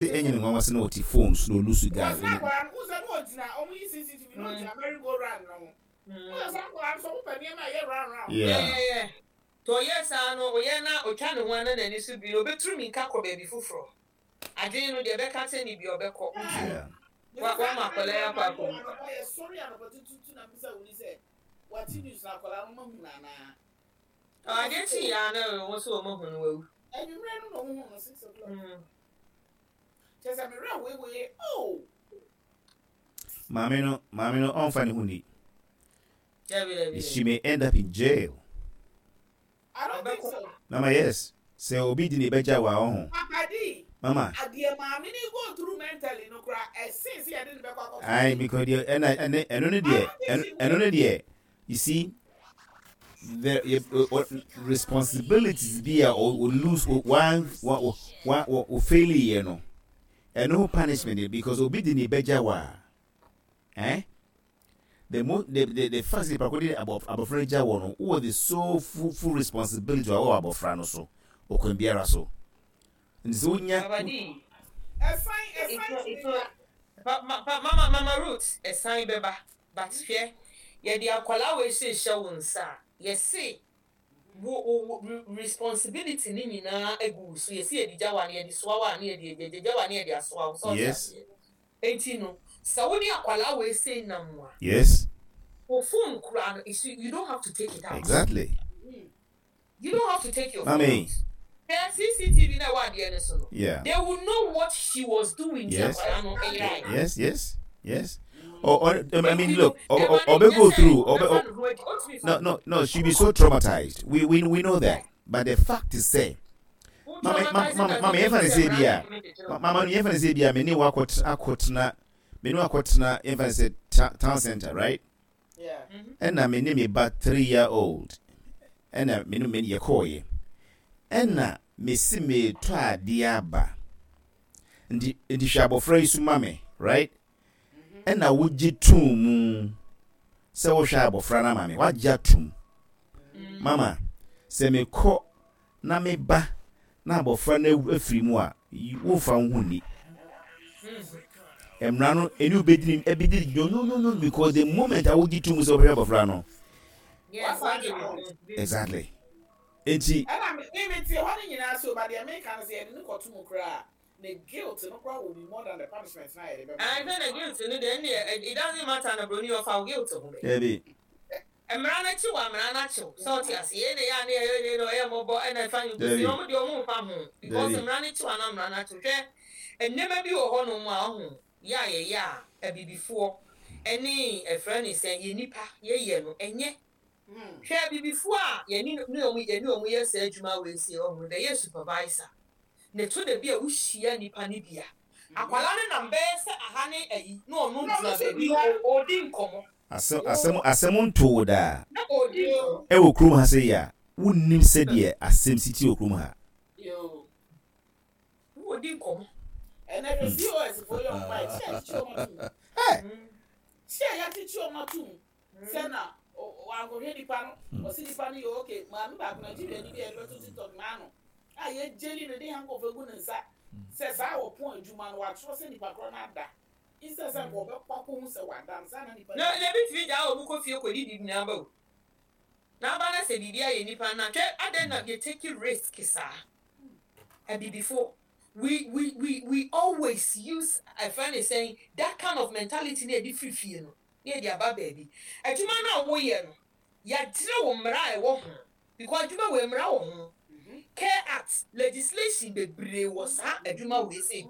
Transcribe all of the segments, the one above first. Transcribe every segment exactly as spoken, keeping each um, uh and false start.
Ɛnyɛ ne nwanwa sɛ na ɔte phone so na ɔlose guy. Because akwadaa no wosɛ no ɔgyina ɔmo yi C C T V na ɔgyina merry go round no ho. Wosɛ sɛ akwadaa no sɛ ɔmo pɛ nneɛma a ɛyɛ round round. Yeah. Yeah, yeah, yeah. Nti ɔyɛ saa no, ɔyɛ na ɔtwa ne ho ana n'ani so bi no, ɔbɛturu mirika kɔ baabi foforɔ. Adwene no deɛ ɛbɛka kyɛ ne bi ɔbɛkɔ. Nti Yeah. wa wama akwadaa yi akɔ akɔwu. Anɔpa yɛ sɔre anɔpa tututu na mbisa wuli sɛ wate news na akwadaa no ma hu na anaa. Adeɛ kyi yɛ ana wɔn nso wɔn ahu no wawu. Anwummerɛ no na ɔmo hu no six o'clock. Mm. Kyerɛ sɛ mmerɛ weiwei oh. Maame no maame no ɔnfa ne ho ni. Dabi, dabi. She dabi. may end up in jail. I don't think so. Mama, yes, sɛ obi di ne bɛgya wa ɔho. Papa D. Mama. Adeɛ maame ni go through mentally no kora ɛsen sɛ yɛde ne bɛkɔ akɔtɔ. Ayi, because deɛ ɛna ɛne ɛno ne deɛ ɛno ɛno ne deɛ, you see, the yɛ o responsibilities bi a o o lose o one wa wa o o fail yɛ no, ɛno ho punishment yɛ because obi di ne bɛgya wa, eh, the mo the the the fact sɛ nipa de abɔ abɔfra no gya wɔ no, wɔ the so full full responsibility a wɔwɔ abɔfra no so ɔkwan biara so, nti sɛ wonya. Papa D. Ɛsan It's ɛsan not tumi it's ba. not pa ma pa mama Mama Ruth, ɛsan bɛba, but hwɛ, yɛde akwadaa wei hyehyɛ wo nsa a, yɛse wo wo wo responsibility ne nyinaa egu wo so. Yɛsi yɛde gya wa ne yɛde soa wa ne yɛde yɛde gya wa ne yɛde asoa wo sɛ ɔte Yes. aseɛ. Eti no sɛ wo ne akwadaa wei se nam a, yes wo phone kura no, it's you don't have to take it out. Exactly. You don't have to take your phone Mami. out. Hwɛ, C C T V na ɛwɔ adeɛ no so no, Yeah. they will know what she was doing. Ti Yes. akwadaa no ɛyɛ. yes yes yes or, or I mean, look, or, or, or go through or, or, no no no she'll be so traumatized. we we we know that, but the fact is say, mama, mama, mama, yɛmfa ne sɛ bi a, mama no, yɛmfa ne sɛ bi a me ne wo akɔtena akɔtena me ne wo akɔtena, yɛmfa ne sɛ ta- town center, right? Yeah. Ɛna me ne me ba three year old, ɛna me ne me yɛkɔɔyɛ, ɛna mesi metɔ adeɛ aba, nti nti hwɛ abɔfra yi so ma me, right? Ɛna wogye tum mu sɛ wohwɛ abɔfra no ama me, wagye atum. Mama, sɛ mekɔ na meba na abɔfra no awu- afiri mu a, yi- womfa wo ho nni mmara no ɛne wobɛdini ɛbɛdi. No, no, no, no, because the moment a wogye tum sɛ wobɛhwɛ abɔfra no, exactly, enti Ɛna me me me te hɔ no nyinaa so ba deɛ meka no sɛ yɛde ne kɔto mu koraa, ne guilt no koraa will be more than the punishment na yɛde bɛma. And then the guilt no deɛ, ɛndeɛ it doesn't matter na broni ɔfa wo guilt ho bɛ. Dabi. Mmara no akyi wɔ mmara no akyiw sɛ ɔte ase yɛn na yɛ a ne yɛ yɛ na ɔyɛ mmɔbɔ ɛna ɛfa ne kusi Dabi. Ɔmo deɛ, ɔmo nfa ho because Dabi. mmara no akyi wɔ ana mmara no akyiw. Hwɛ, nneɛma bi wɔ hɔnom a ɔho yɛ a yɛyɛ a abibifoɔ ɛne ɛfrɛ ne sɛ yɛ nipa yɛyɛ no ɛnyɛ. Hwɛ, abibifoɔ a yɛne ne ɔmo yɛne ɔmo yɛ saa adwuma wɔ esi ɔmo bɛyɛ supervisor na eto da bi a wohyia nipa ne bi a akwalaa no nam bɛyɛ sɛ aha ne ayi na ɔno Na ɔno gyina nso baabi bi ha. ɔdi nkɔmɔ. Asɛm asɛm asɛm ntoo daa. Na ɔdi nkɔmɔ. Ɛwɔ kurom ha sɛ yi a wonnim sɛdeɛ asɛm si ti wɔ kurom ha. Yo. Na ɔdi nkɔmɔ. Ɛnɛ hwɛ, C O S foɔ yɛ ɔmo ayɛ kyɛ akyekye ɔmo atum. Hey! Kyɛ yɛakyekye ɔmo atum sɛ na wankɔhwɛ nipa no, ɔsi nipa no yɛ okay. Maame baako, Nigeria ni bi a yɛde bɛto TikTok n'ano a yɛgyeli no de handcuff egu ne nsa sɛ saa wɔpɔn adwuma no, watwerɛ sɛ nipa korɔ no ada instead sɛ nka ɔbɛkɔ akɔhu sɛ wada no saa na nipa na na ebi tumi gyaa wɔn kɔ fie kɔ didi nyinaa ba o n'aba na sɛ biribi ayɛ nipa na hwɛ adan na yɛ take risk saa. Abibifo, we we we we always use ɛfɛn ne sɛn, that kind of mentality na yɛde firi fie no na yɛde aba baabi. Adwuma no a woyɛ no, yɛakyerɛ wo mmara a ɛwɔ ho because adwuma wɔ mmara wɔ ho, Care Act legislation bebree wɔ saa adwuma wei sɛ,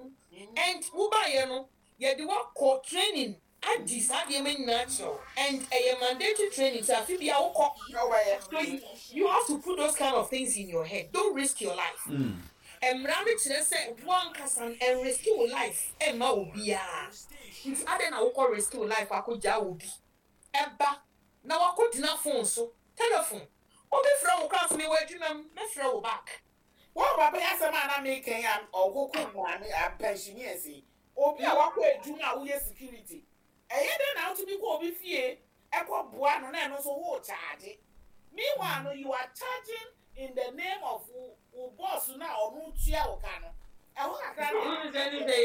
and wobaayɛ no, yɛde wakɔ training adi saa nneɛma nyinaa kyerɛw, and ɛyɛ mandatory training sɛ afi bi a wokɔ. Na ɔbɛyɛ. So you, you have to put those kind of things in your head. Don't risk your life. Mmara no kyerɛ sɛ woankasa no ɛnrisk wo life ɛmma obiara, nti adɛn na wokɔ risk wo life akɔgyaa wo bi ɛba na wakɔgyina phone so, telephone obi frɛ wo koraa so, mewɔ adwuma mu, mɛfrɛ wo back. Wɔn papa yi asɛm a na meka yi a ɔkoko maame a pensioners yi, obi a wakɔ adwuma a woyɛ security, ɛyɛ dɛ na wotumi kɔ obi fie ɛkɔ boa no na ɛno nso wo charge. Meanwhile no, you are charging in the name of wo wo boss na ɔno tua wo ka no. Ɛhɔ kakra deɛ. Wohu sɛ ne sɛ